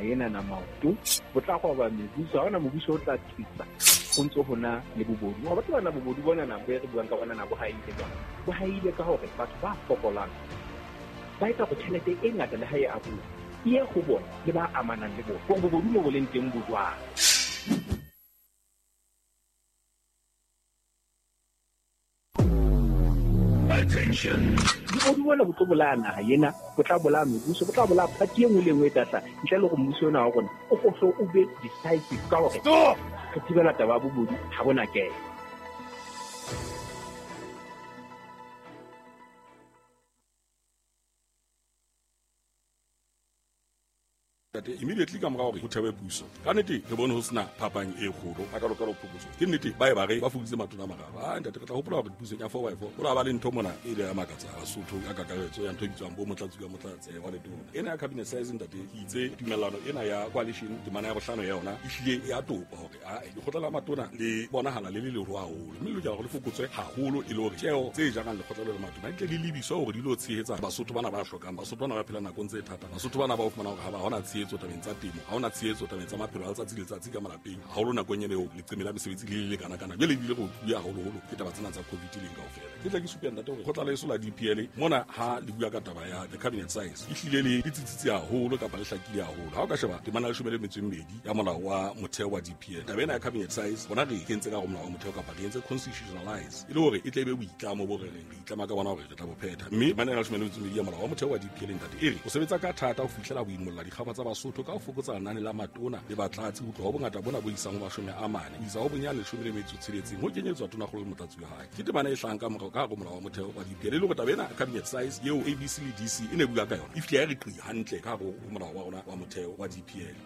Ena na maoto bo tla roba mebuso. Ha hona mobuso o tla tsitsa ho ntso hona le bobodu. Wa batho bana bobodu bona na bo re buang ka bona na bo haile jwang? Bo haile ka hore batho ba fokolang ba etsa hore tjhelete e ngata le ha e abuwa e ye ho bona le ba amanang le bona. Hore bobodu mo bo leng teng bo jwang? Attention. Bobodu bona bo tlo bolaya naha ena, bo tla bolaya mebuso, bo tla bolaya party e nngwe le e nngwe e tla hlaha ntle le hore mmuso ona wa rona o hlo o be decisive ka hore Stop! re thibela taba ya bobodu ha bona kena. Ntate, immediately ka mora hore ho thewe puso, ka nnete re bone ho sena phapang e kgolo a kalo kalo phokotso. Ke nnete ba e ba re ba fokoditse matona a mararo. A ntate, re tla hopola hore pusong ya four by four ho la ba le ntho mona e ile ya makatsa Basotho ka kakaretso ya ntho e bitswang bo motlatsi ka motlatse wa letona. Ena ya cabinet size, ntate, ke itse tumellano ena ya coalition temana ya bohlano ya yona e hlile ya topa hore a lekgotla la matona le bonahala le le leruo haholo, mme le lokela hore le fokotswe haholo e le hore tjeo tse jarang lekgotla le la matona di tle di lebiswe hore di lo tshehetsa Basotho bana ba hlokang, Basotho bana ba phelang nakong tse thata, Basotho bana ba o fumana hore ha ba hona tshehetso tabeng tsa temo, ha hona tshehetso tabeng tsa maphelo a letsatsi le letsatsi ka malapeng, haholo nakong ena eo leqeme la mesebetsi le le lekana kana. Jwale ebile re otluwe haholoholo ke taba tsena tsa COVID leng kaofela. Ke tla ke supe, ntate, hore kgotla leso la DPL mona ha le bua ka taba ya the cabinet size e hlile le tsitsitse haholo kapa le hlakile haholo. Ha o ka sheba temana ya 12 ya molao wa motheo wa DPL, taba ena ya cabinet size bona re e kentse ka hare ho molao wa motheo kapa re entse constitutionalize e le hore e tle e be boitlamo bo re reng re itlama ka bona hore re tla bo phetha. Mme temana ena ya 12 ya molao wa motheo wa DPL, ntate, e re o sebetsa ka thata ho fihlela ho imolla dikgaba tsa Basotho ka ho fokotsa lenane la matona le batlatsi ho tloha ho bongata bona bo isang ho 40 ho isa ho bonyane 16 ho kenyetswa tonakgolo le motlatsi wa hae. Ke temana e hlahang ka morao ka hare ho molao wa motheo wa DPL e le hore taba ena cabinet size eo ABC le DC e ne bua ka yona e fihle ya re qi hantle ka hare ho molao wa rona wa motheo wa DPL.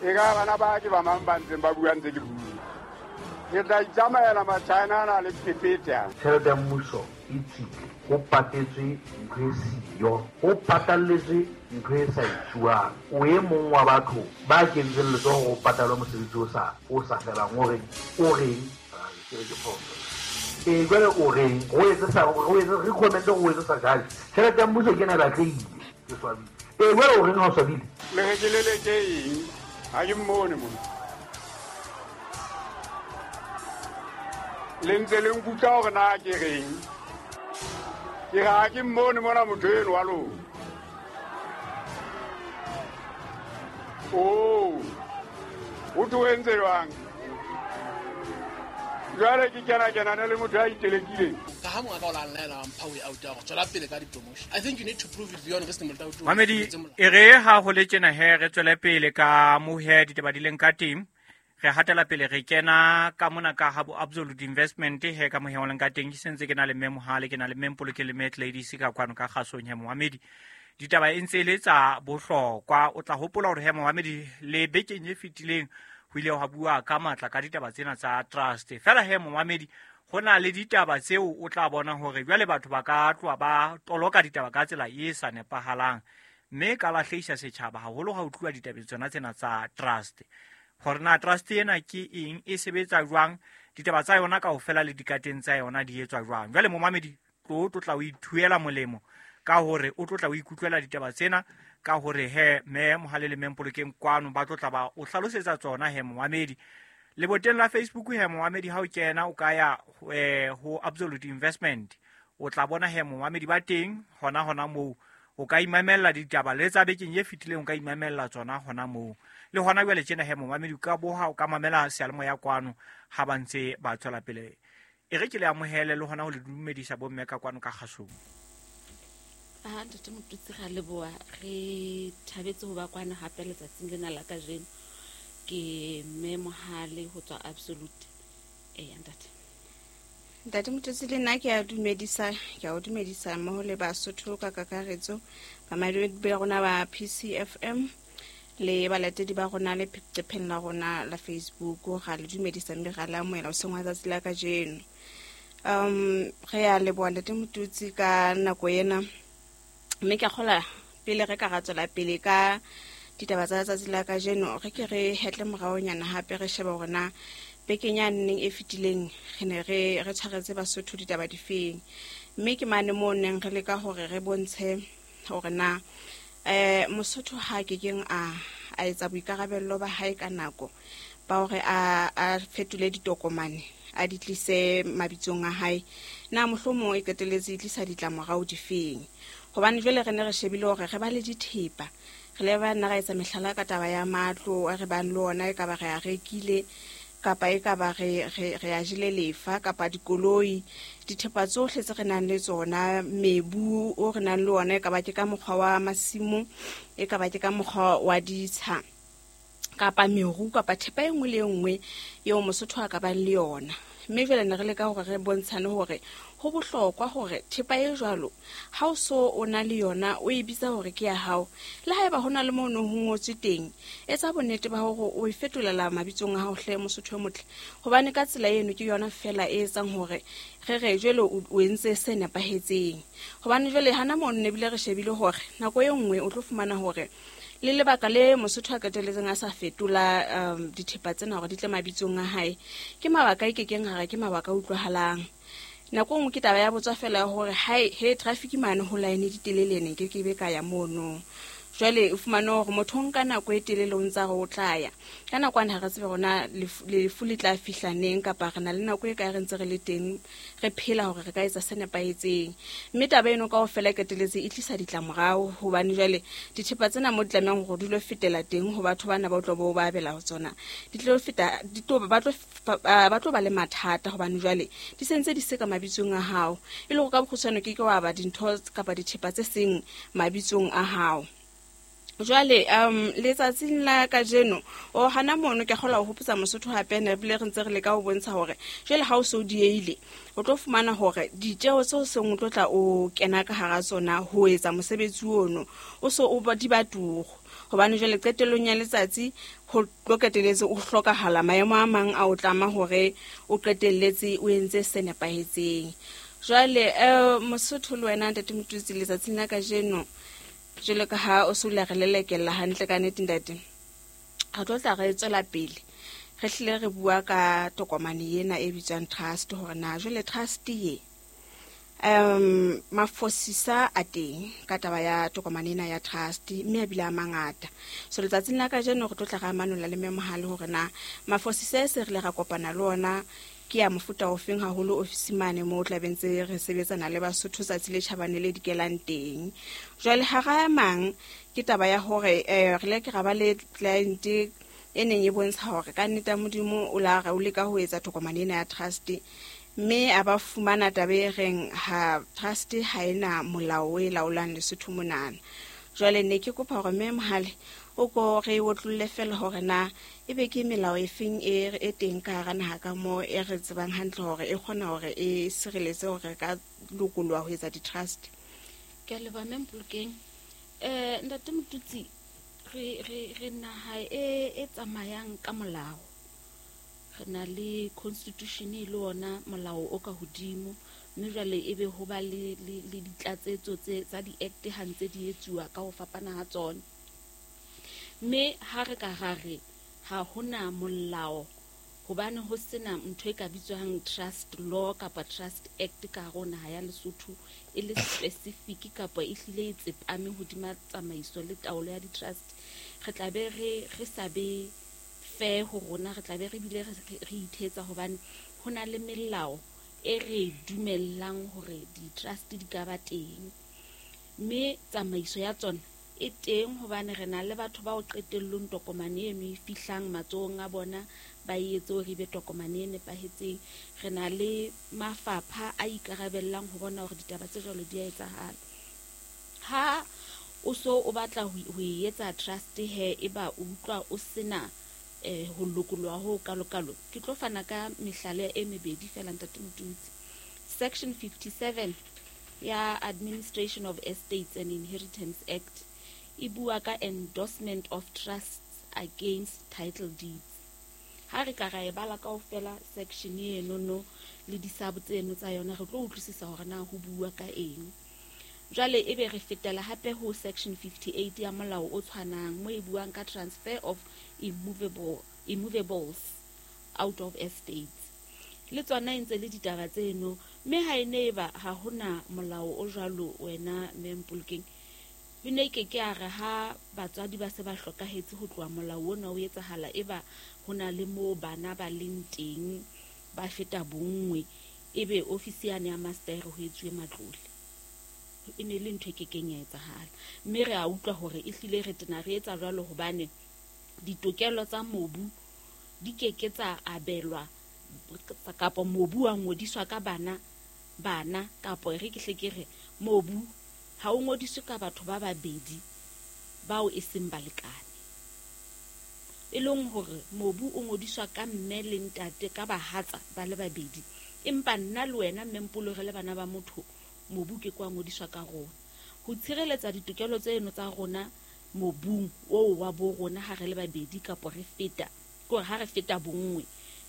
E ka bana ba ke ba mang ba ntseng ba bua ntse ke bua. Ke tla itsamaela Machina ana le phephethe a. Tjhelete ya mmuso e tswile, ho patetswe ntho e siyo, ho patalletswe ntho e sa etsuwang. O e mong wa batho ba kentseng letsoho hore ho patalwe mosebetsi o sa o sa felang. O reng? O reng? Ke re ke phoso. Ee, jwale o reng? Re o etse sa re o etse recommend hore o etse sa judge. Tjhelete ya mmuso ke ena e batlehile. Ke swabile. Ee, jwale o reng ha o swabile? Le re ke leleke eng? Ha ke mmone mona. Le ntse le nkutlwa hore na ke reng? Ke re ha ke mmone mona motho eno wa lona. Oh, o tlo entse jwang? Jwale ke kena kenane le motho ya itelekileng. Ka ha mongaka o la nlaela wa mpha way out ya gore tswela pele ka di-promotion. I think you need to prove it beyond reasonable doubt. Mamedi, e re ha ho le tjena he re tswele pele ka mo he ditaba di leng ka teng. Re hatela pele re kena ka mona ka ha bo Absolute Investment he ka mo he o leng ka teng. Ke sentse ke na le mme Mohale, ke na le mme Mpoloke le mme Ladies ka kwano ka kgasong he momamedi. Ditaba e ntse e le tsa bohlokwa. O tla hopola hore he momamedi le bekeng e fetileng ho ile hwa bua ka matla ka ditaba tsena tsa trust. Fela he momamedi, ho na le ditaba tseo o tla bona hore jwale batho ba ka tloha ba toloka ditaba ka tsela e sa nepahalang, mme ka lahlehisa setjhaba haholo ha ho tluwa ditabeng tsona tsena tsa trust. Hore na trust ena ke eng, e sebetsa jwang, ditaba tsa yona kaofela le dikateng tsa yona di etswa jwang. Jwale momamedi, tlo tlo tla o ithuela molemo ka hore o tlo tla o ikutlwela ditaba tsena ka hore he mme Mohale le mme Mpolokeng kwano ba tlo tla ba o hlalosetsa tsona he momamedi. Leboteng la Facebook he momamedi, ha o kena o ka ya ho Absolute Investment, o tla bona he momamedi ba teng hona hona moo. O ka imamella ditaba le tsa bekeng e fetileng, o ka imamella tsona hona moo. Le hona jwale tjena he momamedi, o ka boha, o ka mamela seyalemoya kwano ha ba ntse ba tswela pele. E re ke le amohele le hona ho le dumedisa bomme ka kwano ka kgasong. Aha, ntate Motutsi, ra leboha. Re thabetse ho ba kwano hape letsatsing lena la kajeno. Ke mme Mohale ho tswa Absolute. Eya, ntate. Ntate Motutsi, le nna ke a dumedisa, ke a o dumedisa mmoho le Basotho ka kakaretso, bamamedi ba rona ba PCFM le balatedi ba rona le leqepheng la rona la Facebook. Ra le dumedisa mme ra le amohela hoseng wa tsatsi la kajeno. Re a leboha ntate Motutsi ka nako ena, mme ke a kgolwa pele re ka ra tswela pele ka ditaba tsa letsatsi la kajeno, re ke re hetle moraonyana hape re shebe hore na bekeng ya neng e fetileng re ne re tshwaretse Basotho ditaba difeng. Mme ke mane moo neng re leka hore re bontshe hore na Mosotho ha ke keng a a etsa boikarabello ba hae ka nako ba hore a fetole ditokomane a di tlise mabitsong a hae, na mohlomong e qetelletse e tlisa ditlamorao difeng? Hobane jwale re ne re shebile hore re ba le dithepa, re le ba nna ra etsa mehlala ka taba ya matlo a re bang le ona, e ka ba re a rekile kapa e ka ba re a jele lefa, kapa dikoloi, dithepa tsohle tse re nang le tsona, mebu o re nang le ona, e ka ba ke ka mokgwa wa masimo, e ka ba ke ka mokgwa wa ditsha, kapa meru, kapa thepa e nngwe le e nngwe eo Mosotho a ka bang le yona. Mme jwale ne re leka hore re bontshane hore ho bohlokwa hore thepa e jwalo ha o so o na le yona o e bitsa hore ke ya hao, le haeba ho na le moo ho ngotswe teng, etsa bonnete ba hore o e fetolela mabitsong a hao hle Mosotho e motle, hobane ka tsela eno ke yona fela e etsang hore re re jwale o entse se nepahetseng. Hobane jwale hana mono ne bile re shebile hore nako e nngwe o tlo fumana hore le lebaka le Mosotho a qetelletseng a sa fetola dithepa tsena hore di tle mabitsong a hae, ke mabaka e kekeng hare ke mabaka a utlwahalang. Nako e nngwe ke taba ya botswa fela ya hore hae he traffic mane ho line di telele ne ke ke be ka ya mono. Jwale o fumane hore motho o nka nako e telele o ntsa re o tla ya. Ka nako ane ha re tsebe rona lefu le tla fihla neng, kapa re na le nako e kae re ntse re le teng re phela hore re ka etsa se nepahetseng. Mme taba eno kaofela e qetelletse e tlisa ditlamorao, hobane jwale dithepa tsena mo di tlamehang hore di lo fetela teng ho batho bana ba o tlo bo ba abela ho tsona, di tlo feta, di tlo ba tlo ba le mathata, hobane jwale di sentse di se ka mabitsong a hao. E le hore ka bokgutshwane ke ke wa ba dintho kapa dithepa tse seng mabitsong a hao. Jwale letsatsing la kajeno o hana mono ke kgola ho hopotsa Mosotho hape ne bile re ntse re leka ho bontsha hore jwale ha o so dieile o tlo fumana hore ditjeho tseo seng o tlo tla o kena ka hara tsona ho etsa mosebetsi ono o so o di ba turu, hobane jwale qetellong ya letsatsi ho tlo qetelletse o hlokahala maemo a mang a o tlama hore o qetelletse o entse se nepahetseng. Jwale Mosotho le wena Ntate Motutsi, letsatsing la kajeno jwalo ka ha o se o le re lelekella hantle ka nnete ntate, re tlo tla re tswela pele re hlile re bua ka tokomane ena e bitswang trust, hore na jwale trust ye mafosisa a teng ka taba ya tokomane ena ya trust, mme a bile a mangata. So letsatsing la kajeno re tlo tla re amanola le Mme hore na mafosisa e se re le ra kopana le ona ke ya mofuta ofeng, haholo ofisi mane moo tla be ntse re sebetsana le Basotho tsatsi le tjhabane le dikelang teng. Jwale hara a mang ke taba ya hore re le ke ra ba le client e neng e bontsha hore ka nnete ya Modimo o la re o leka ho etsa tokomane ena ya trust, mme a ba fumana taba e reng ha trust ha ena molao o e laolang Lesotho monana. Jwale ne ke kopa hore Mme Mohale o ko re otlolle fela hore na ebe ke melao e feng e teng ka hara naha ka moo e re tsebang hantle hore e kgona hore e sireletse hore re ka lokoloha ho etsa di-trust. Ke a leboha Mme Mpolokeng. Ntate Motutsi, re naha e tsamayang ka molao. Re na le constitution e le ona molao o ka hodimo, mme jwale ebe ho ba le ditlatsetso tsa di-act ha ntse di etsuwa ka ho fapana ha tsona. Mme ha re ka ra re ha hona molao, hobane ho sena ntho e ka bitswang trust law kapa trust act ka hare ho naha ya Lesotho e le specific kapa e hlile e tsepame hodima tsamaiso le taolo ya di-trust, re tla be re sa be fair ho rona, re tla be re bile re ithetsa, hobane ho na le melao e re dumellang hore di-trust di ka ba teng, mme tsamaiso ya tsona e teng, hobane re na le batho bao qetellong tokomane eno e fihlang matsohong a bona ba e etse hore ebe tokomane e nepahetseng. Re na le mafapha a ikarabellang ho bona hore ditaba tse jwalo di a etsahala. Ha o so o batla ho e etsa trust he, eba o utlwa o sena ho lokoloha ho kalokalo, ke tlo fana ka mehlala e mebedi fela Ntate Motutsi. Section 57 ya Administration of Estates and Inheritance Act e bua ka endorsement of trusts against title deeds. Ha re ka ra e bala kaofela section eno no le disabo tseno tsa yona, re tlo utlwisisa hore na ho bua ka eng. Jwale ebe re fetela hape ho section 58 ya molao o tshwanang, mo e buang ka transfer of immovables out of estates. Le tsona e ntse le ditaba tseno, mme ha e ne eba ha hona molao o jwalo wena Mme Mpolokeng, E ne ke ke a re ha batswadi ba se ba hlokahetse ho tloha molao ona o etsahala, eba ho na le moo bana ba leng teng ba feta bonngwe, ebe ofisi yane ya master ho etsuwe matlole. E ne le ntho e kekeng ya etsahala. Mme re a utlwa hore ehlile re tena re etsa jwalo hobane ditokelo tsa mobu di keke tsa abelwa kapa mobu wa ngodiswa ka bana kapo re ke hle ke re mobu ha o ngodiswe ka batho ba babedi bao e seng balekane. E leng hore mobu o ngodiswa ka mme le ntate ka bahatsa ba le babedi, empa nna le wena mme Mpolo re le bana ba motho, mobu ke kwa ngodiswa ka rona. Ho tshireletsa ditokelo tseno tsa rona mobung oo wa bo rona ha re le babedi kapo re feta, ke hore ha re feta bonngwe,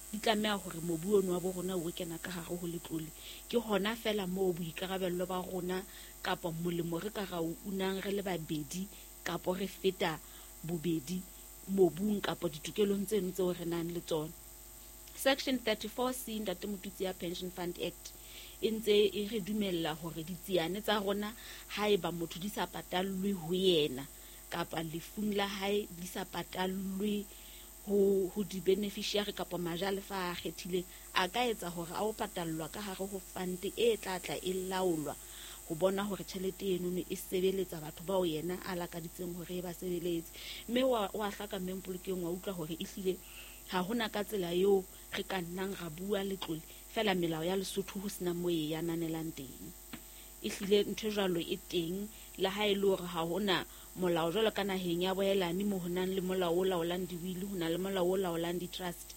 di tlameha hore mobu ono wa bo rona o kena ka hare ho letlole. Ke hona fela moo boikarabello ba rona kapa molemo re ka ra o unang re le babedi kapo re feta bobedi mobung kapa ditokelong tseno tseo re nang le tsona. Section 34C Ntate Motutsi ya Pension Fund Act e ntse e re dumella hore ditsiane tsa rona haeba motho di sa patallwe ho yena kapa lefung la hae di sa patallwe ho di-beneficiary kapa majalefa a kgethileng, a ka etsa hore a o patallwa ka hare ho fund e tla tla e laolwa ho bona hore tjhelete eno e sebeletsa batho bao yena a lakaditseng hore e ba sebeletse. Mme wa hlaka mme Mpolokeng wa utlwa hore ehlile ha hona ka tsela eo re ka nnang ra bua letlole fela melao ya Lesotho ho sena moo e ananelang teng. Ehlile ntho jwalo e teng, le ha e le hore ha hona molao jwalo ka naheng ya boelane mo ho nang le molao o laolang di-will, ho na le molao o laolang di-trust.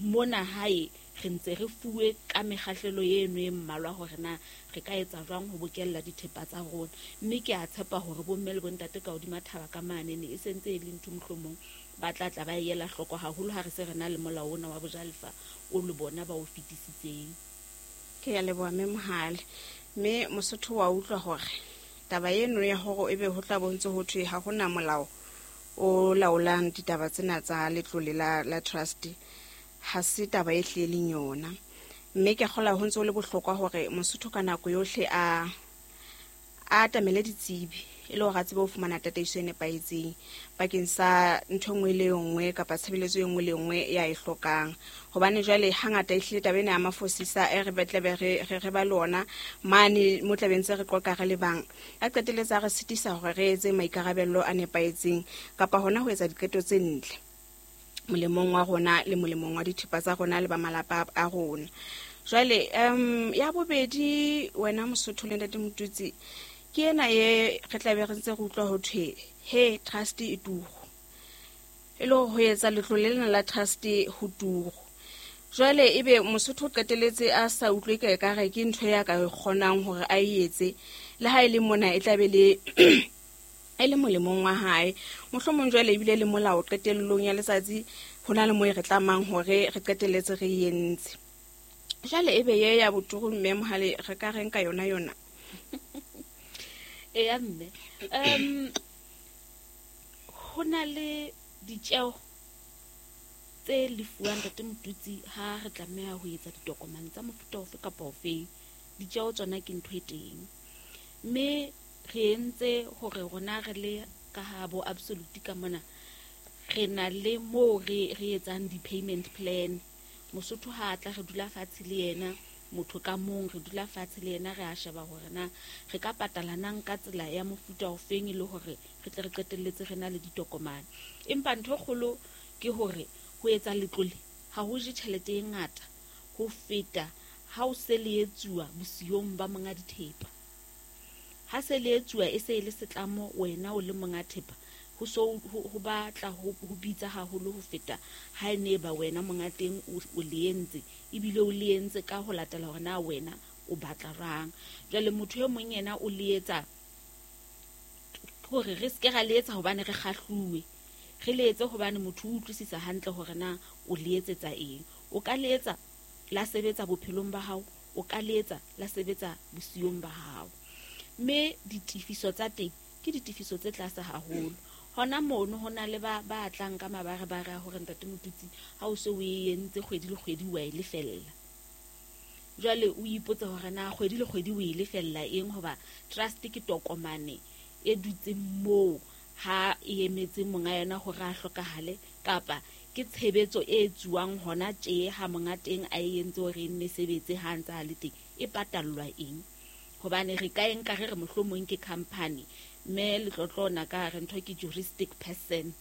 Mona hae re ntse re fuwe ka mekgahlelo eno e mmalwa hore na re ka etsa jwang ho bokella dithepa tsa rona. Mme ke a tshepa hore bomme le bontate ka hodima thaba ka mane ne e sentse e le ntho mohlomong ba tla tla ba ela hloko haholo ha re se re na le molao ona wa bojalefa o le bona ba o fetisitseng. Ke ya leboha mme Mohale. Mme Mosotho wa utlwa hore taba eno ya hore ebe ho tla bontse ho thwe ha hona molao o laolang ditaba tsena tsa letlole la trust ha se taba e hlileng yona. Mme ke kgola ho ntse ho le bohlokwa hore Mosotho ka nako yohle a atamele ditsebi e le hore a tsebe ho fumana tataiso e nepahetseng bakeng sa ntho e nngwe le e nngwe kapa tshebeletso e nngwe le e nngwe ya e hlokang. Hobane jwale hangata ehlile taba ena ya mafosisa e re tlabe re ba le ona mane mo tlabe ntse re qoqa re le bang, a qeteletse a re sitisa hore re etse maikarabello a nepahetseng kapa hona ho etsa diqeto tse ntle molemong wa rona le molemong wa dithepa tsa rona le ba malapa a rona. Jwale ya bobedi wena Mosotho le Ntate Motutsi, ke ena e re tlabe re ntse re utlwa ho thwe he trust e turu, e le ho etsa letlole lena la trust ho turu. Jwale ebe Mosotho o qeteletse a sa utlwe ka ekare ke ntho ya ka kgonang hore a e etse, le ha e le mona e tlabe le e le molemong wa hae. Mohlomong jwale ebile le molao qetellong ya letsatsi ho na le mo e re tlamang hore re qeteletse re entse. Jwale ebe ye ya boturu mme Mohale re ka reng ka yona yona? Eya mme, ho na le ditjeo tse lefuwang Ntate Motutsi ha re tlameha ho etsa ditokomane tsa mofuta ofe kapa ofeng. Ditjeo tsona ke ntho e teng, mme re entse hore rona re le ka ha bo Absolute ka mona re na le moo re etsang di-payment plan. Mosotho ha tla re dula fatshe le yena, motho ka mong re dula fatshe le yena, re a sheba hore na re ka patala nang ka tsela ya mofuta ofeng e le hore re tle re qetelletse re na le ditokomane. Empa ntho e kgolo ke hore ho etsa letlole ha ho je tjhelete e ngata ho feta ha o se le etsuwa bosiyong ba monga dithepa. Ha se le etsuwa e se e le setlamo wena o le monga thepa, ho so ho batla ho bitsa haholo ho feta ha e ne ba wena monga teng o le entse, ebile o le entse ka ho latela hore na wena o batla rang. Jwale motho e mong yena o le etsa hore re ske ra le etsa hobane re kgahluwe, re le etse hobane motho o utlwisisa hantle hore na o le etsetsa eng. O ka le etsa la sebetsa bophelong ba hao, o ka le etsa la sebetsa bosiyong ba hao. Mme ditefiso tsa teng ke ditefiso tse tlase haholo. Hona mono ho na le ba tlang ka mabarebare a hore Ntate Motutsi ha o se o e entse kgwedi le kgwedi wa e lefella. Jwale o ipotse hore na kgwedi le kgwedi o e lefella eng, hoba trust ke tokomane e dutseng moo ha e emetse monga yona hore a hlokahale, kapa ke tshebetso e etsuwang hona tje ha monga teng a e entse hore e nne sebetse ha ntse a le teng, e patallwa eng? Hobane re ka e nka re re mohlomong ke company, mme letlotlo ona ka re ntho ke juristic person,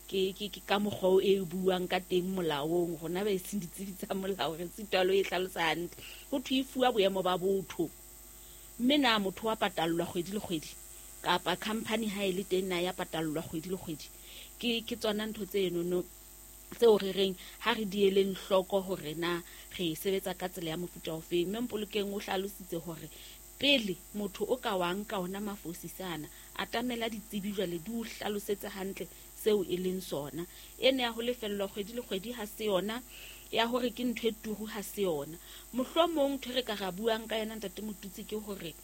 ke ka mokgwa o e buang ka teng molaong, rona ba e seng ditsebi tsa molao re sitwa le ho e hlalosa hantle. Ho thwe e fuwa boemo ba botho, mme na motho wa patallwa kgwedi le kgwedi, kapa company ha e le teng na ya patallwa kgwedi le kgwedi? Ke tsona ntho tse enono tseo re reng ha re di eleng hloko hore na re e sebetsa ka tsela ya mofuta ofeng. Mme Mpolokeng o hlalositse hore pele motho o ka wa nka ona mafosisana, atamela ditsebi jwale di o hlalosetse hantle seo e leng sona. Ene ya ho lefellwa kgwedi le kgwedi ha se yona, ya hore ke ntho e turu ha se yona. Mohlomong ntho e re ka ra buang ka yona Ntate Motutsi ke hore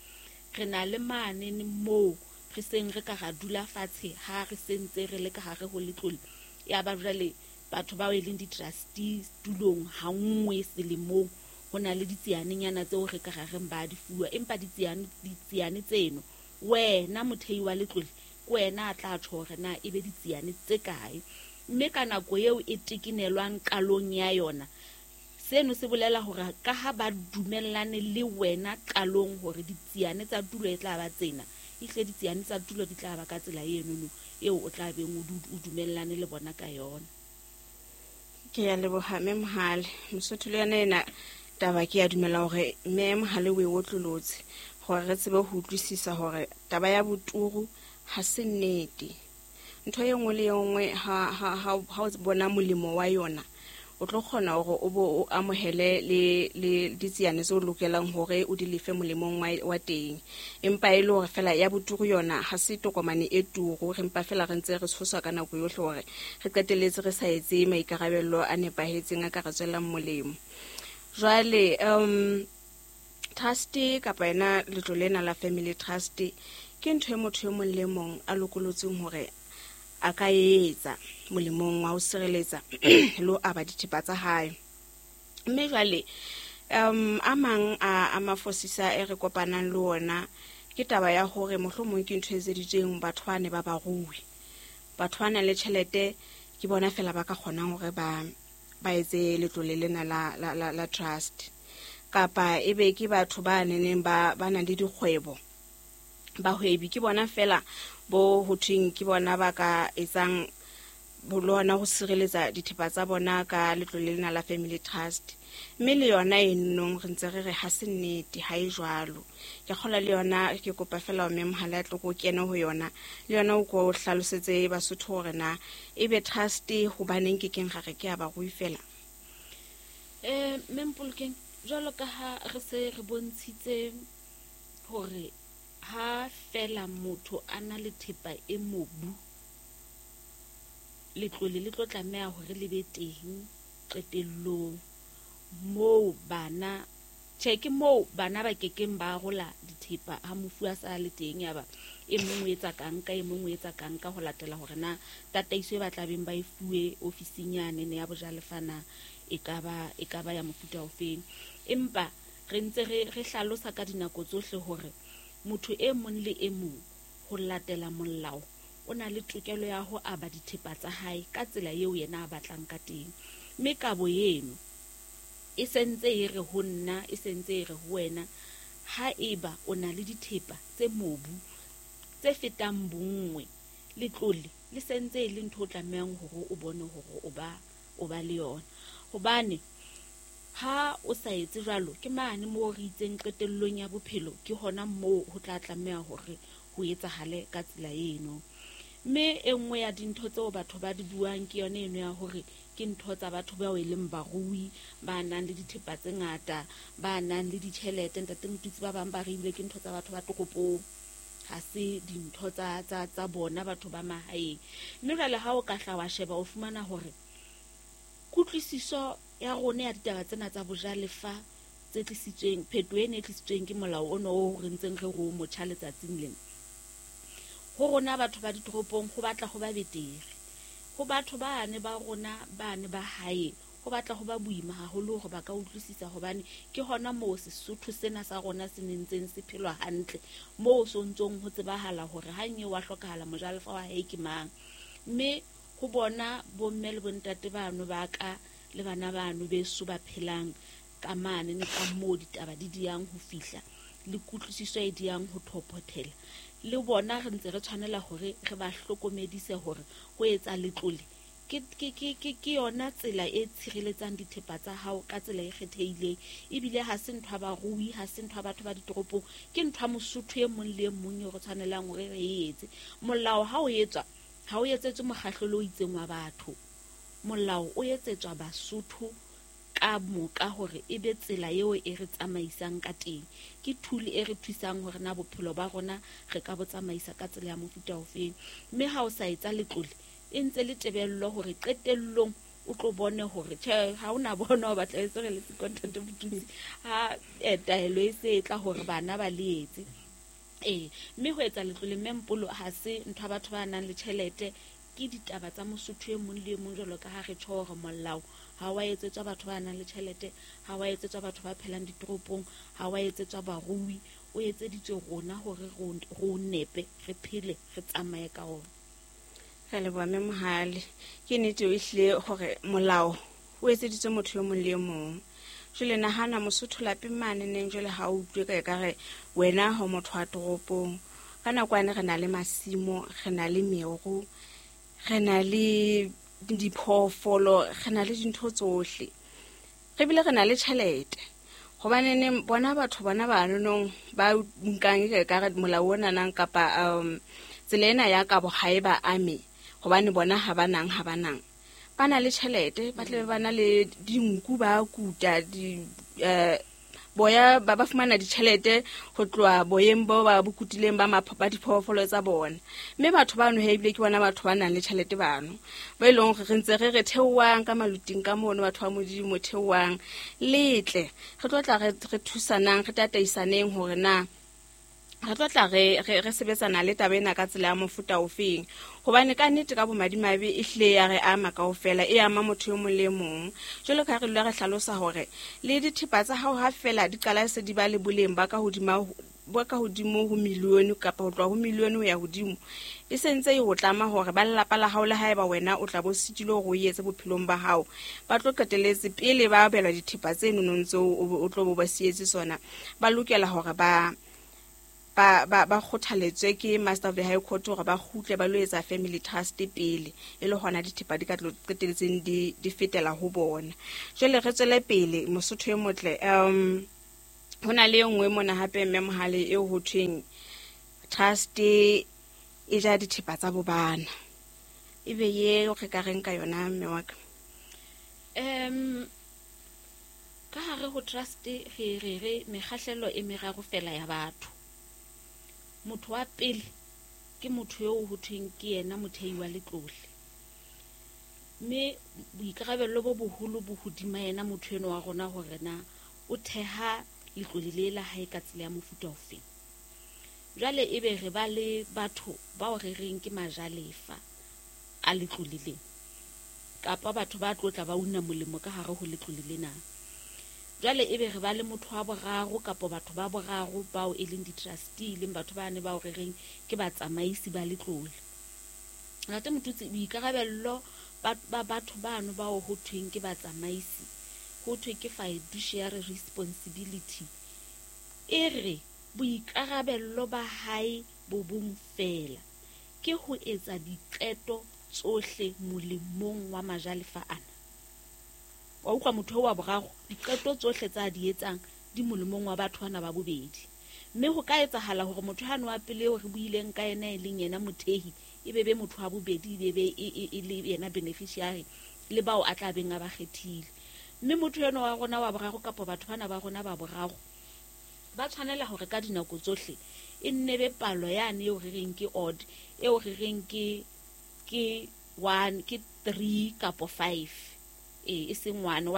re na le mane moo re seng re ka ra dula fatshe ha re sentse re le ka hare ho letlole, ya ba jwale batho bao e leng di-trustee tulong ha nngwe selemong, ho na le ditsianenyana tseo re ka ra reng ba di fuwa, empa ditsiane tseno wena mothei wa letlole ke wena a tla tjho hore na ebe ditsiane tse kae, mme ka nako eo e tekenelwang qalong ya yona. Seno se bolela hore ka ha ba dumellane le wena qalong hore ditsiane tsa tulo e tla ba tsena, ehle ditsiane tsa tulo di tla ba ka tsela enono eo o tla beng o dumellane le bona ka yona. Ke ya leboha Mme Mohale. Mosotho le yona ena taba ke ya dumela hore Mme Mohale o e otlolotse hore re tsebe ho utlwisisa hore taba ya boturu ha se nnete. Ntho e nngwe le e nngwe ha o bona molemo wa yona, o tlo kgona hore o bo o amohele le ditsiane tseo lokelang hore o di lefe molemong wa teng. Empa e le hore fela ya boturu yona ha se tokomane e turu, re mpa fela re ntse re tshoswa ka nako yohle hore re qetelletse re sa etse maikarabelo a nepahetseng a ka re tswelang molemo. Jwale trust kapa yena letlole lena la family trust ke ntho e motho e mong le mong a lokolotseng hore a ka etsa molemong wa ho sireletsa le ho aba dithepa tsa hae. Mme jwale a mang a mafosisa e re kopanang le ona ke taba ya hore mohlomong ke ntho e etseditsweng batho ba ne ba barui, batho ba nang le tjhelete ke bona fela ba ka kgonang hore ba etse letlole lena la trust, kapa ebe ke batho ba neneng ba nang le dikgwebo, bahwebi ke bona fela bo ho thweng ke bona ba ka etsang le hona ho sireletsa dithepa tsa bona ka letlole lena la family trust. Mme le yona enong re ntse re re ha se nnete, ha e jwalo. Ke kgola le yona, ke kopa fela o mme Mohale a tlo ko kene ho yona, le yona o ko hlalosetse Basotho hore na ebe trust hobaneng ke keng ra re ke ya barui fela. Mme Mpolokeng, jwalo ka ha re se re bontshitse hore ha fela motho a na le thepa e mobu, letlole le tlo tlameha hore le be teng qetellong moo bana tjhe ke moo bana ba kekeng ba arola dithepa ha mofu a sa le teng, ya ba e mong o etsa kang ka e mong o etsa kang ka ho latela hore na tataiso e ba tlabeng ba e fuwe ofising yane ne ya bojalefana e ka ba ya mofuta ofeng. Empa re ntse re hlalosa ka dinako tsohle hore motho e mong le e mong ho latela molao o na le tokelo ya ho aba dithepa tsa hae ka tsela eo yena a batlang ka teng. Mme kabo eno e sentse e re ho nna, e sentse e re ho wena, ha eba o na le dithepa tse mobu tse fetang bonngwe, letlole le sentse e le ntho o tlamehang hore o bone hore o ba le yona. Hobane ha o sa etse jwalo, ke mane moo re itseng qetellong ya bophelo ke hona moo ho tla tlameha hore ho etsahale ka tsela eno. Mme e nngwe ya dintho tseo batho ba di buang ke yona eno ya hore ke ntho tsa batho bao e leng barui, ba nang le dithepa tse ngata, ba nang le ditjhelete. Ntate Motutsi, ba bang ba re ebile ke ntho tsa batho ba toropong, ha se dintho tsa bona batho ba mahaeng. Mme jwale ha o ka hla wa sheba o fumana hore kutlwisiso ya rona ya ditaba tsena tsa bojalefa tse tlisitsweng, phetoho ena e tlisitsweng ke molao ono o re ntseng re ro motjha letsatsing lena, ho rona batho ba ditoropong ho batla ho ba betere. Ho batho bane ba rona bane ba hae Ho batla ho ba boima haholo hore ba ka utlwisisa, hobane ke hona moo Sesotho sena sa rona se nentseng se phelwa hantle, moo so ntsong ho tsebahala hore ha nye wa hlokahala mojalefa wa hae ke mang. Mme ho bona bomme le bontate bano ba ka le bana bano beso ba phelang ka mane ne ka moo ditaba di diyang ho fihla le kutlwisiso e diyang ho thophothela, le bona re ntse re tshwanela hore re ba hlokomedise hore ho etsa letlole ke yona tsela e tshireletsang dithepa tsa hao ka tsela e kgethehileng. Ebile ha se ntho ya barui, ha se ntho ya batho ba ditoropong, ke ntho ya Mosotho e mong le e mong eo re tshwanelang hore re e etse. Molao ha o etswa, ha o etsetswe mokgahlelo o itseng wa batho. Molao o etsetswa Basotho ka moka hore e be tsela eo e re tsamaisang ka teng. Ke tool e re thusang hore na bophelo ba rona re ka bo tsamaisa ka tsela ya mofuta ofeng. Mme ha o sa etsa letlole, e ntse le tebello hore qetellong o tlo bone hore tjhe, ha o na bona o batla e se re le sekontate botutsi ha taelo e se e tla hore bana ba le etse. Mme ho etsa letlole mme Mpolo ha se ntho ya batho ba nang le tjhelete, ke ditaba tsa Mosotho e mong le e mong, jwalo ka ha re tjho hore molao ha wa etsetswa batho ba nang le tjhelete, ha wa etsetswa batho ba phelang ditoropong, ha wa etsetswa barui, o etseditswe rona hore re o nepe, re phele, re tsamaye ka ona. Re leboha mme Mohale. Ke nnete o ehlile hore molao o etseditswe motho e mong le e mong. Jwale nahana Mosotho lapeng mane neng jwale ha o utlwe ka ekare wena ha o motho wa toropong. Ka nako yane re na le masimo, re na le meru, re na le diphoofolo, re na le dintho tsohle. Re bile re na le tjhelete. Hobane neng bona batho bona ba nonong ba nkang e ka re molao ona nang kapa tsela ena ya kabo ha e ba ame, hobane bona ha ba nang. Ba na le tjhelete, ba tlabe ba na le dinku, ba kuta di boya, ba fumana ditjhelete ho tloha boyeng bo ba bo kutileng ba ba diphoofolo tsa bona. Mme batho bano he ebile ke bona batho ba nang le tjhelete bano, ba e leng hore re ntse re re theohang ka maluting ka mono, batho ba Modimo theohang letle, re tlo tla re thusanang, re tataisaneng hore na re tlo tla re sebetsana le taba ena ka tsela ya mofuta ofeng. Hobane ka nnete ka bomadimabe e hlile ya re ama kaofela, e ama motho e mong le mong. Jwalo ka ha re dula re hlalosa hore le dithepa tsa hao ha fela di qala se di ba le boleng ba ka hodimo ho milione kapa ho tloha ho milione ho ya hodimo, e sentse e ho tlama hore ba lelapa la hao le haeba wena o tla bo sitilwe hore o etse bophelong ba hao, ba tlo qeteletse pele ba abelwa dithepa tse nonong tseo o tlo bo ba sietse sona, ba lokela hore ba kgothaletswe ke Master of the High Court hore ba kgutle ba lo etsa family trust pele, e le hona dithepa di ka tlo qeteletseng di fetela ho bona. Jwale re tswele pele Mosotho e motle. Ho na le e nngwe mona hape mme Mohale eo ho thweng trust e ja dithepa tsa bobana. Ebe ye re ka reng ka yona mme wa ka? Ka hare ho trust re re mekgahlelo e meraro fela ya batho. Motho wa pele ke motho eo ho thweng ke yena mothei wa letlole, mme boikarabello bo boholo bo hodima yena motho eno wa rona hore na o theha letlole le la hae ka tsela ya mofuta ofeng. Jwale ebe re ba le batho bao re reng ke majalefa a letlole lena, kapa batho ba tlotla ba una molemo ka hare ho letlole lena. Jwale ebe re ba le motho wa boraro kapa batho ba boraro bao e leng di-trustee, leng batho ba ne bao re reng ke batsamaisi ba letlole. Ntate Motutsi, boikarabello ba batho bano bao ho thweng ke batsamaisi, ho thwe ke fiduciary responsibility, e re boikarabello ba hae bo bong fela ke ho etsa diqeto tsohle molemong wa majalefa ana. Wa utlwa motho wa boraro, diqeto tsohle tsa di etsang di molemong wa batho bana ba bobedi. Mme ho ka etsahala hore motho hano wa pele eo re buileng ka yena e leng yena mothehi, e be motho wa bobedi, e be e le yena beneficiary le bao a tla beng a ba kgethile. Mme motho eno wa rona wa boraro kapa batho bana ba rona ba boraro ba tshwanela hore ka dinako tsohle e nne be palo yane eo re reng ke odd, eo re reng ke 1, ke 3 kapa 5. E seng 1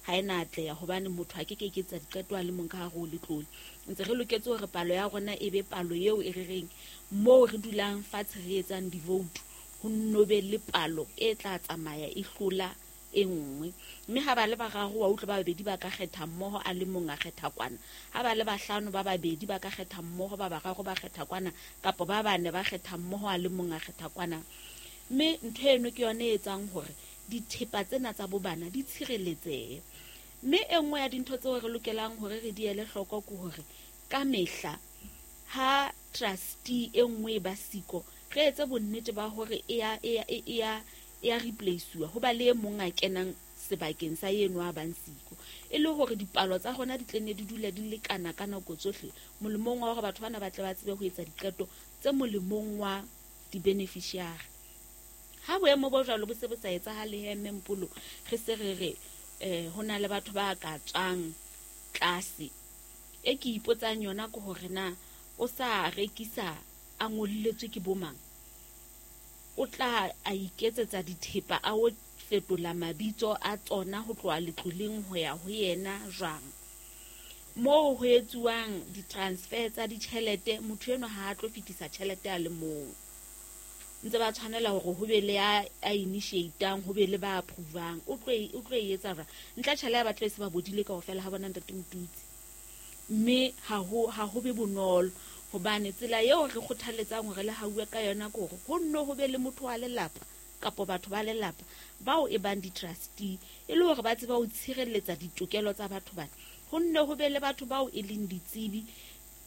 ha ena atleha hobane motho a ke ke etsa diqeto a le mong ka hare ho letlole. Ntse re loketse hore palo ya rona e be palo eo e re reng moo re dulang fatshe re etsang di-vote, ho nno be le palo e tla tsamaya e hlola e nngwe. Mme ha ba le bararo wa utlwa ba babedi ba ka kgetha mmoho, a le mong a kgetha kwana. Ha ba le bahlano ba babedi ba ka kgetha mmoho, ba bararo ba kgetha kwana, kapa ba bane ba kgetha mmoho, a le mong a kgetha kwana. Mme ntho eno ke yone e etsang hore dithepa tsena tsa bobana di tshireletsehe. Mme e nngwe ya dintho tseo re lokelang hore re di ele hloko ke hore ka mehla ha trustee e nngwe e ba siko, re etse bonnete ba hore e ya replace-uwa, ho ba le e mong a kenang sebakeng sa eno a bang siko, e le hore dipalo tsa rona di tle ne di dule di lekana ka nako tsohle, molemong wa hore batho bana ba tle ba tsebe ho etsa diqeto tse molemong wa di-beneficiary. Ha boemo bo jwalo bo se bo sa etsahale he, mme Mpolo, re se re re ho na le batho ba ka tswang tlase. E ke ipotsang yona ke hore na o sa rekisa a ngolletswe ke bomang, o tla a iketsetsa dithepa a o fetola mabitso a tsona ho tloha letloleng ho ya ho yena jwang? Moo ho etsuwang di-transfer tsa ditjhelete, motho enwa ha a tlo fetisa tjhelete a le mong. Ntse ba tshwanela hore ho be le a initiatang, ho be le ba approvang. O tlo e etsa jwang? Ntle tjhelete ya batlo e se ba bodile kaofela ha bona ntate Motutsi. Mme ha ho be bonolo, hobane tsela eo re kgothaletsang hore le hauwe ka yona ke hore ho nno ho be le motho wa lelapa kapa batho ba lelapa bao e bang di-trustee, e le hore ba tseba ho tshireletsa ditokelo tsa batho bana. Ho nne ho be le batho bao e leng ditsebi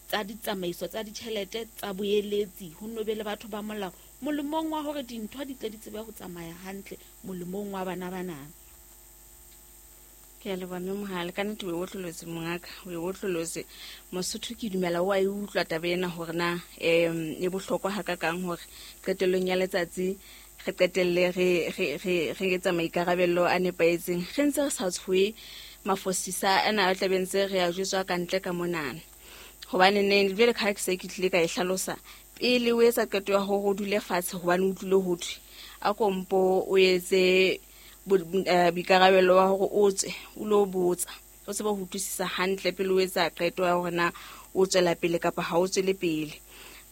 tsa ditsamaiso tsa ditjhelete tsa boeletsi, ho nne ho be le batho ba molao, molemong wa hore dintho di tle di tsebe ho tsamaya hantle, molemong wa bana bana. Ke a leboha mme Mohale, ka nnete o e otlolotse mongaka, o e otlolotse. Mosotho ke dumela o a e utlwa taba ena hore na e bohlokwa hakakang hore qetellong ya letsatsi re qetelle re etsa maikarabelo a nepahetseng, re ntse re sa tshohe mafosisa ana a tlabe ntse re a jwetswa ka ntle ka monana. Hobane neng jwale ka ha ke se ke tlile ka e hlalosa, pele o etsa qeto ya hore o dule fatshe hobane o utlwile ho thwe, a kompo o etse boikarabelo wa hore o tswe o lo botsa, o tsebe ho utlwisisa hantle pele o etsa qeto ya hore na o tswela pele kapa ha o tswele pele.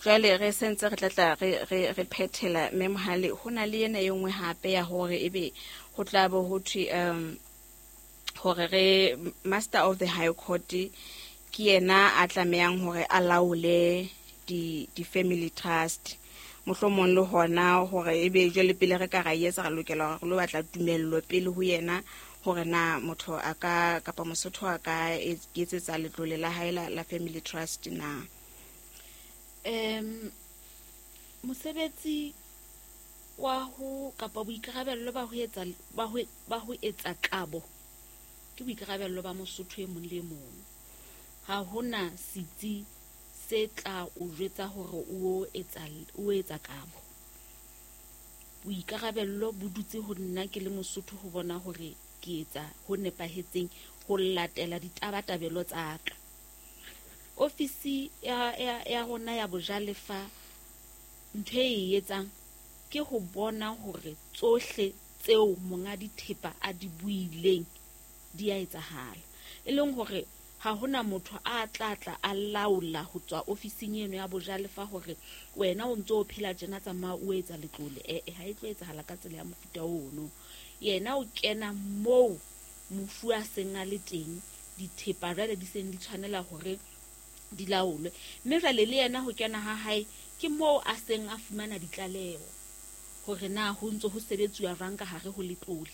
Jwale re sentse re tlatla re phethela mme Mohale, ho na le ena e nngwe hape ya hore ebe ho tla bo ho thwe hore re Master of the High Court ke yena a tlamehang hore a laole di-family trust. Mohlomong le hona hore ebe jwale pele re ka ra etsa re lokela hore re lo batla tumello pele ho yena hore na motho a ka kapa Mosotho a ka etsetsa letlole la hae la family trust na. Mosebetsi wa ho kapa boikarabello ba ho etsa kabo ke boikarabello ba Mosotho e mong le mong. Ha hona setsi se tla o jwetsa hore o etsa kabo. Boikarabello bo dutse ho nna ke le Mosotho ho bona hore ke etsa ho nepahetseng ho latela ditabatabelo tsa ka. Ofisi ya rona ya bojalefa ntho e etsang ke ho bona hore tsohle tseo monga dithepa a di buileng di a etsahala. E leng hore ha hona motho a tla tla a laola ho tswa ofising eno ya bojalefa hore wena o ntso o phela tjena tsamaya o etsa letlole. Ha e tlo etsahala ka tsela ya mofuta ono. Yena o kena moo mofu a seng a le teng, dithepa jwale di seng di tshwanela hore di laolwe. Mme jwale le yena ho kena ha hae ke moo a seng a fumana ditlaleho hore na ho ntso ho sebetsuwa jwang ka hare ho letlole.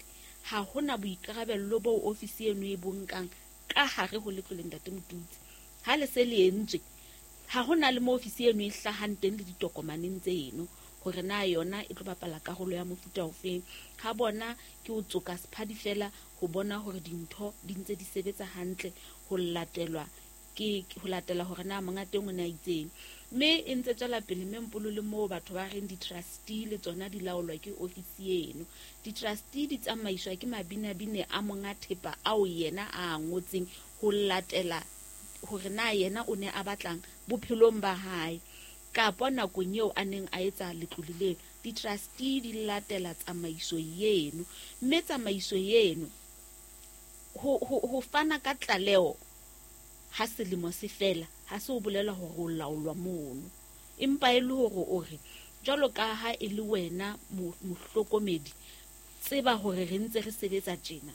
Ha hona boikarabello boo ofisi eno e bo nkang ka hare ho letlole ntate Motutsi. Ha le se le entswe, ha hona le mo ofisi eno e hlahang teng le ditokomaneng tseno hore na yona e tlo bapala karolo ya mofuta ofeng. Ha bona ke o tsoka sephadi fela ho bona hore dintho di ntse di sebetsa hantle ho latelwa ke ho latela hore na monga teng o ne a itseng. Mme e ntse tswela pele mme Mpolo le moo batho ba reng di-trustee le tsona di laolwa ke ofisi eno. Di-trustee di tsamaiswa ke mabinabine a monga thepa ao yena a ngotseng ho latela hore na yena o ne a batlang bophelong ba hae kapa nakong eo a neng a etsa letlole leo. Di-trustee di latela tsamaiso eno, mme tsamaiso eno ho fana ka tlaleho ha selemo se fela ha se o bolela hore o laolwa mono, empa e le hore o re jwalo ka ha e le wena mohlokomedi Tseba hore re ntse re sebetsa tjena,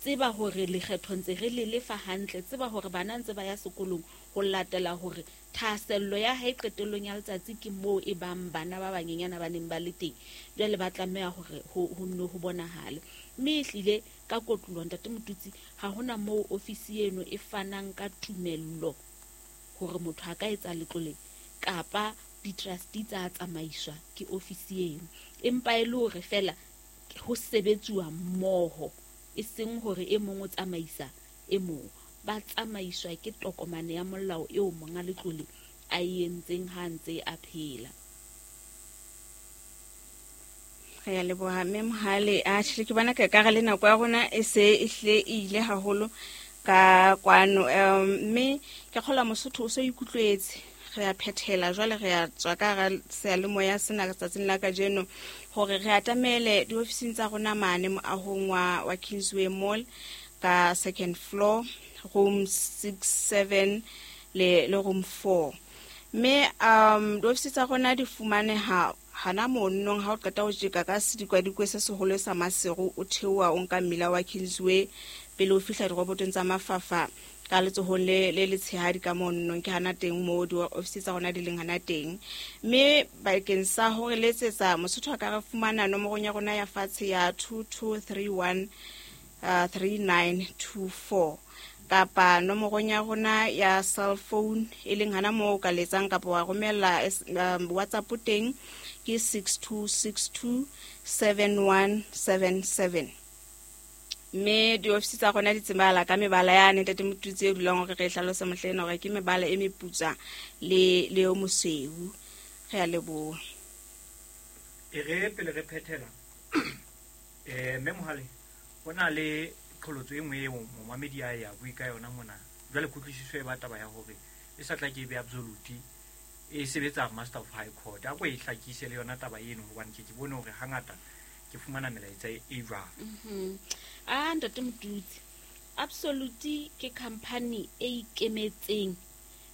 tseba hore lekgetho ntse re le lefa hantle, tseba hore bana ntse ba ya sekolong, ho latela hore thahasello ya hae qetellong ya letsatsi ke moo e bang bana ba banyenyana ba neng ba le teng. Jwale ba tlameha hore ho nne ho bonahale. Mme ehlile ka kotloloho, Ntate Motutsi, ha hona moo ofisi eno e fanang ka tumello hore motho a ka etsa letlole kapa di-trustee tsa tsamaiswa ke ofisi eno. Empa e le hore feela ho sebetsuwa mmoho, e seng hore e mong o tsamaisa e mong. Ba tsamaiswa ke tokomane ya molao eo monga letlole a e entseng ha ntse a phela. Re a leboha Mme Mohale. A tjhe, ke bona ke ka re le nako ya rona e se e hlile e ile haholo ka kwano. Mme ke kgolwa Mosotho o so ikutlwetse. Re a phethela jwale, re a tswa ka hara seyalemoya sena tsatsing la kajeno hore re atamele diofising tsa rona mane moahong wa Kingsway Mall ka second floor, room 6, 7 le room 4. Mme diofisi tsa rona di fumaneha hana monong ha o qeta ho tjeka ka sedikwadikwe se seholo sa Maseru, o theoha o nka mmila wa Kingsway pele o fihla dirobotong tsa Mafafa ka letsohong le letshehadi ka monong, ke hana teng moo diofisi tsa rona di leng hana teng. Mme bakeng sa hore letsetsa Mosotho a ka re fumana nomorong ya rona ya fatshe ya 2231 3924, kapa nomorong ya rona ya cell phone e leng hana moo o ka letsang kapa wa romella WhatsApp teng ke 6262 7177. Mme diofisi tsa rona di tsebahala ka mebala yane Ntate Motutsi e dulang hore re e hlalose mohlena hore ke mebala e meputswa le o mosweu. Re a leboha. E re pele re phethela, Mme Mohale, ho na le qholotso e nngwe eo momamedi a ya bue ka yona mona. Jwale kutlwisiso e ba taba ya hore e sa tla ke be absolute e sebetsa Master of High Court. A ko e hlakise le yona taba eno, hobane ke bone hore hangata ke fumana melaetsa e jwalo. A Ntate Motutsi, Absolute ke company e ikemetseng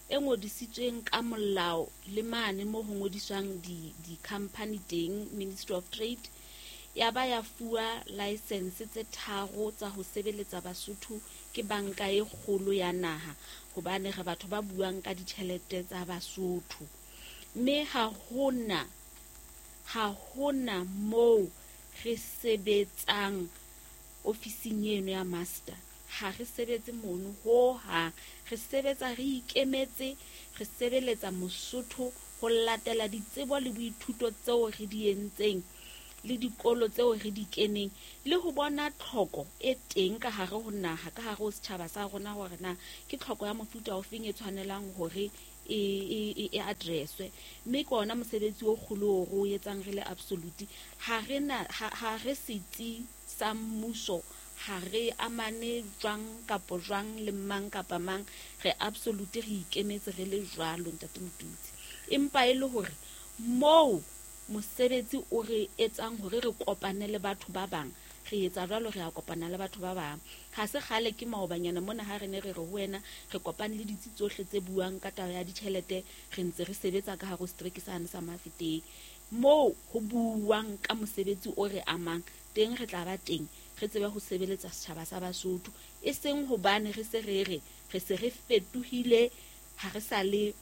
e ngodisitsweng ka molao le mane mo ho ngodiswang di-company teng, Ministry of Trade, ya ba ya fuwa license tse 3 tsa ho sebeletsa Basotho ke banka e kgolo ya naha, hobane re batho ba buang ka ditjhelete tsa Basotho. Mme ha hona moo re sebetsang ofising eno ya master, ha re sebetse mono hohang. Re sebetsa re ikemetse, re sebeletsa Mosotho ho latela ditsebo le boithuto tseo re di entseng le dikolo tseo re di keneng, le ho bona tlhoko e teng ka hare ho naha, ka hare ho setjhaba sa rona, hore na ke tlhoko ya mofuta ofeng e tshwanelang hore e addresswe. Mme ke ona mosebetsi o kgolo o re o etsang re le Absolute. Ha re na, ha re setsi sa mmuso, ha re amane jwang kapa jwang le mang kapa mang, re Absolute re ikemetse re le jwalo, Ntate Motutsi. Empa e le hore moo mosebetsi o re etsang hore re kopane le batho ba bang, re etsa jwalo, re a kopana le batho ba bang. Ha se kgale ke maobanyana mona ha re ne re re ho wena re kopane le ditsi tsohle tse buang ka taba ya ditjhelete, re ntse re sebetsa ka hare ho setereke sane sa Mafeteng. Moo ho buuwang ka mosebetsi o re amang teng, re tla ba teng, re tsebe ho sebeletsa setjhaba sa Basotho, e seng hobane re se re re re se re fetohile, ha re sa le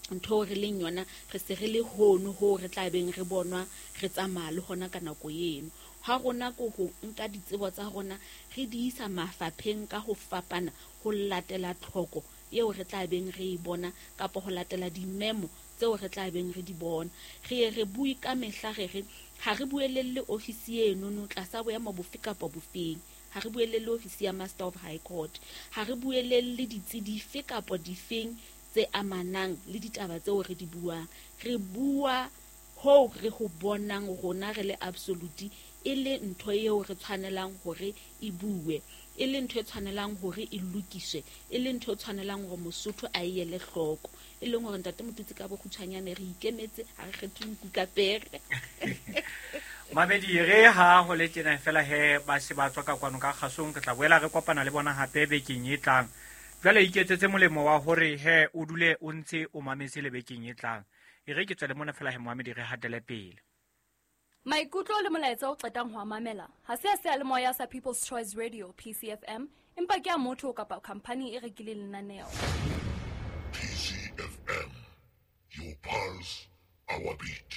ntho re leng yona, re se re le hono ho re tla beng re bonwa re tsamaya le hona ka nako eno. Ha rona ko ho nka ditsebo tsa rona re di isa mafapheng ka ho fapana ho latela tlhoko eo re tla beng re e bona, kapa ho latela dimemo tseo re tla beng re di bona. Re ye re bue ka mehla re re ha re buelelle ofisi enono tlasa boemo bofe kapa bofeng, ha re buelelle ofisi ya Master of High Court, ha re buelelle ditsi dife kapa difeng tse amanang le ditaba tseo re di buang. Re bua hoo re ho bonang rona re le Absolute e le ntho eo re tshwanelang hore e bue, e le ntho e tshwanelang hore e lokiswe, e le ntho e tshwanelang hore Mosotho a e ele hloko. E leng hore Ntate Motutsi ka bokgutshwanyane re ikemetse, ha re kgethe nku ka pere. Mamedi, re ha ho le tjena fela he ba se ba tswa ka kwano ka kgasong, re tla boela re kopana le bona hape bekeng e tlang. Jwale iketsetse molemo wa hore he o dule o ntse o mametse le bekeng e tlang. E re ke tswele mona fela he Mohamedi re hatele pele. Maikutlo le molaetsa o qetang ho a mamela ha se a seyalemoya sa People's Choice Radio PCFM, empa ke a motho kapa khampani e rekileng lenaneo. PCFM, your pulse, our beat.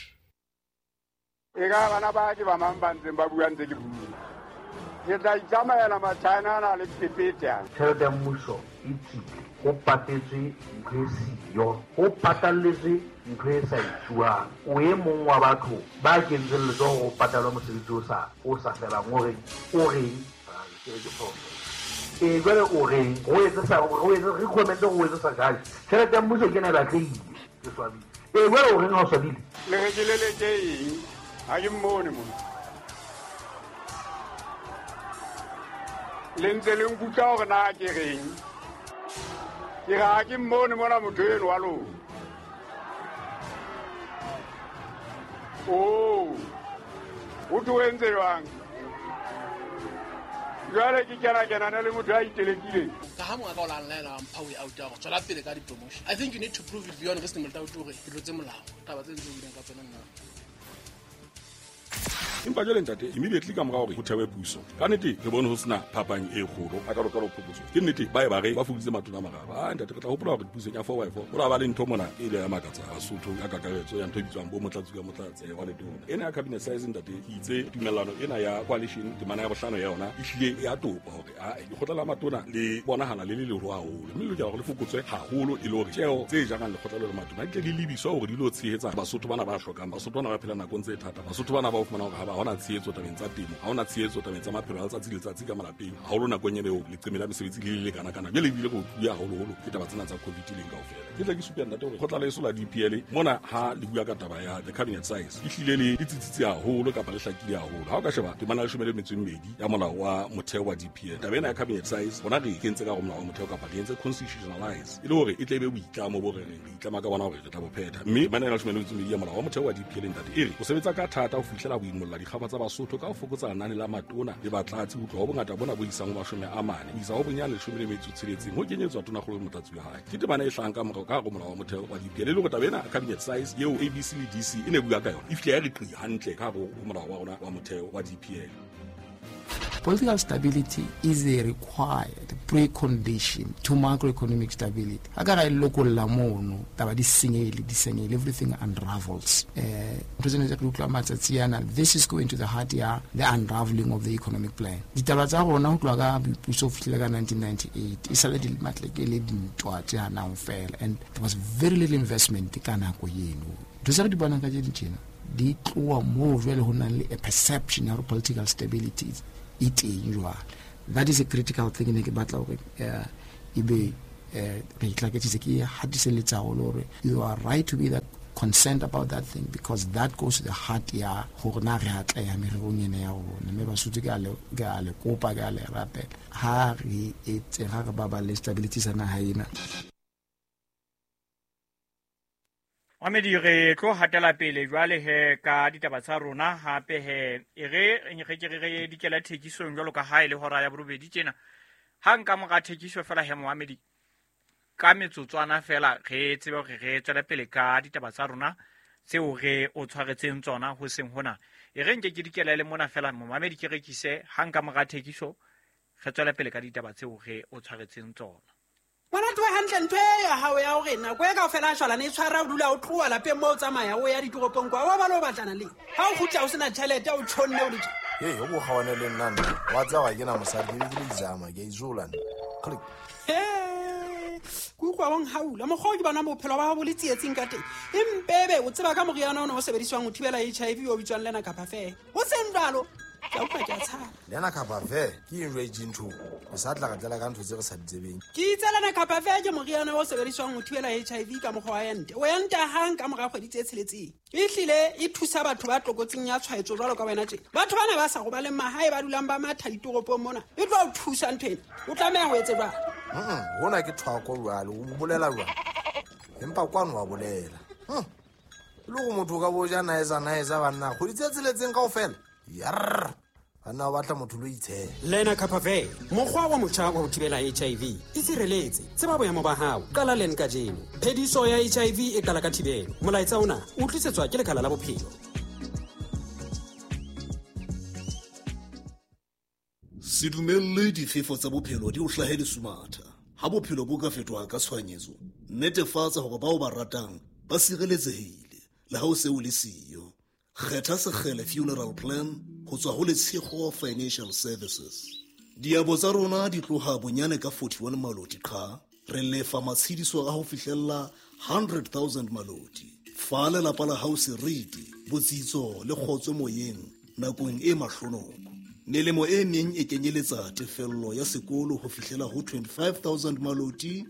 E ka bana ba ke ba mang ba ntseng ba bua ntse ke bua. Ke tla itsamaela Machina ana le phephethe ana. Tjhelete ya mmuso e tswile, ho patetswe ntho e siyo, ho patalletswe ntho e sa etsuwang. O e mong wa batho ba kentseng letsoho ho patalwa mosebetsi o sa felang, o reng, o reng, ke re ke phoso. Ee, jwale o reng, o etse sa, o etse, re comment o etse sa judge. Tjhelete ya mmuso ke ena e batlehile, ke swabile. Ee, jwale o reng ha o swabile? Le re ke leleke eng? Ha ke mmone mona. Le ntse le nkutlwa hore na ke reng? Ke re ha ke mmone mona motho eno wa lona. Oh, o tlo entse jwang? Jwale ke kena-kenane le motho a itelekileng. Ka ha monga ka o la nlaela wa mpha way out ya hore tswela pele ka di-promotion. I think you need to prove it beyond reasonable doubt hore ke tlotse molao. Taba tse ntse o buileng ka tsona nna. Empa jwale ntate, immediately ka mora hore ho thewe puso, ka nnete re bone ho sena phapang e kgolo a kalokalo phokotso. Ke nnete ba e ba re ba fokoditse matona a mararo. Ah ntate, re tla hopola hore pusong ya 4x4 ho la ba le ntho mona e ile ya makatsa Basotho ka kakaretso ya ntho e bitswang bo motlatsi ka motlatsi wa letona. Ena ya cabinet size ntate, ke itse tumellano ena ya coalition temana ya bohlano ya yona e hlile ya topa hore a lekgotla la matona le bonahala le le leholo haholo, mme le lokela hore le fokotswe haholo e le hore tjeo tse jarang lekgotla le matona di tle di lebiswa hore di lo tshehetsa Basotho bana ba hlokang, Basotho bana ba phelang nakong tse thata, Basotho bana ba o fumana hore ha ba hona tshehetso tabeng tsa temo, ha hona tshehetso tabeng tsa maphelo a letsatsi le letsatsi ka malapeng, haholo nakong ena eo leqeme la mesebetsi le le lekana-kana. Jwale ebile re utluwe haholoholo ke taba tsena tsa COVID leng kaofela. Ke tla ke supe ntate hore kgotla leso la DPL mona ha le bua ka taba ya the cabinet size e hlile le tsitsitse haholo kapa le hlakile haholo. Ha o ka sheba temana ya 12 ya molao wa motheo wa DPL, taba ena ya cabinet size rona re e kentse ka hare ho molao wa motheo kapa re entse constitutionalize e le hore e tle e be boitlamo bo re reng re itlama ka bona hore re tla bo phetha. Mme temana ya 12 ya molao wa motheo wa DPL ntate e re o sebetsa ka thata ho fihlela ho imolla dikgaba tsa Basotho ka ho fokotsa lenane la matona le batlatsi ho tloha ho bongata bona bo isang ho 40 ho isa ho bonyane 16 ho kenyetswa tonakgolo le motlatsi wa hae. Ke temana e hlahang ka morao ka hare ho molao wa motheo wa DPL e le hore taba ena cabinet size eo ABC le DC e ne bua ka yona e fihla ya re qi hantle ka hare ho molao wa rona wa motheo wa DPL. Political stability is a required precondition to macroeconomic stability. Ha ka ra e lokolla mono, taba di senyehile, di senyehile, everything unravels. Ntho tsena tse re utlwa matsatsi ana, this is going to the heart ya the unraveling of the economic plan. Ditaba tsa rona ho tloha ka boipuso ho fihlela ka 1998, e sale di matleke le dintwa tse hanang fela, and there was very little investment ka nako eno. Ntho tse re di bonang ka tse di tjena, di tloha moo jwale ho nang le a perception ya hore political stability e teng jwale. That is a critical thing ne ke batla hore ebe re itlaketsitse, ke hatiselletsa haholo hore you are right to be that concerned about that thing, because that goes to the heart ya hore na re atleha mererong ena ya rona. Mme Basotho ke a le kopa, ke a le rapela, ha re etse, ha re baballe stability sa naha ena. Mamedi, re tlo hatela pele jwale he ka ditaba tsa rona hape he e re re ke re dikela thekisong jwalo ka ha e le hora ya borobedi tjena. Ha nka mora thekiso fela he Mohamedi ka metsotswana fela re tsebe hore re tswele pele ka ditaba tsa rona tseo re o tshwaretseng tsona ho seng hona. E re nke ke dikela le mona fela Mohamedi ke rekise ha nka mora thekiso re tswele pele ka ditaba tseo re o tshwaretseng tsona. Ngwana tloha hantle ntho e ya hao ya hore nako e kaofela a shwalane e tshwara o dula o tloha lapeng moo o tsamaya o ya ditoropong kwa, wa ba le o batlana le ha o kgutla o sena tjhelete o tjhonne o le tje. Hei, o bo kgawane le nna nna. Wa tseba ha ke na mosadi, ke be ke le izama, ke a izola nna. Click. He, ke utlwa o nhaula. Mokgwa o ke bonang bophelo ba hao bo le tsietsing ka teng. Empebe o tseba ka moriana ona o sebediswang ho thibela HIV o bitswang Lena Kapa Fair. Ho seng jwalo, ke a utlwa ke a tshaba. Lena Kapa Fair ke eng jwale e ntho? O sa tla re tlela ka ntho tse re sa di tsebeng. Ke itse Lena Kapa Fair ke moriana o sebediswang ho thibela HIV ka mokgwa wa ente. O enta hang ka mora kgwedi tse tsheletseng. Ehlile e thusa batho ba tlokotsing ya tshwaetso jwalo ka wena tje. Batho bana ba sa robaleng mahae ba dulang ba matha ditoropong mona. E tlo o thusa ntho ena. O tlameha ho etse jwang? Hona ke thwako jwale, o bolela jwang? Empa kwano wa bolela. Le go motho ka bo ja naetsa naetsa banna, kgwedi tse tsheletseng kaofela. Yarr. Banna ba batla motho lo itshela. Lena Kapa Fair, mokgwa wa motjha wa ho thibela HIV. E sireletse, tseba boemo ba hao, qala len kajeno. Phediso ya HIV e qala ka thibelo. Molaetsa ona o tlisetswa ke Lekala la Bophelo. Se dumelle difefo tsa bophelo di o hlahe lesumatha. Ha bophelo bo ka fetoha ka tshohanyetso, netefatsa hore bao ba ratang ba sireletsehile le ha o se o le siyo. Kgetha Sekgele Funeral Plan ho tswa ho Letshego Financial Services. Diabo tsa rona di tloha bonyane ka 41 maloti qha. Re lefa matshediso a ho fihlella 100,000 maloti. Fa lelapa la hao seriti, botsitso le kgotso moyeng nakong e mahlonoko. Melemo e meng e kenyeletsa tefello ya sekolo ho fihlela ho 25,000 maloti,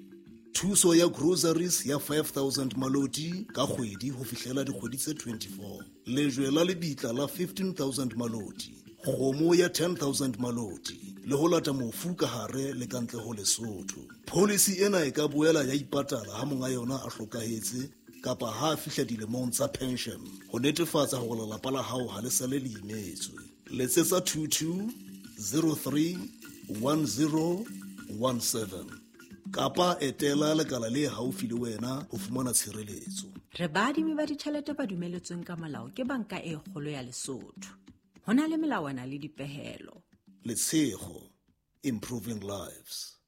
thuso ya groceries ya 5,000 maloti ka kgwedi ho fihlela dikgwedi tse 24, lejwe la lebitla la 15,000 maloti, kgomo ya 10,000 maloti le ho lata mofu ka hare le ka ntle ho Lesotho. Pholisi ena e ka boela ya ipatala ha monga yona a hlokahetse kapa ha a fihla dilemong tsa pension ho netefatsa hore lelapa la hao ha le sale le imetswe. Letsetsa 22 03 10 17 kapa etela lekala le haufi le wena ho fumana tshireletso. Re baadimi ba ditjhelete ba dumeletsweng ka molao ke Banka e Kgolo ya Lesotho. Ho na le melawana le dipehelo. Letshego, improving lives.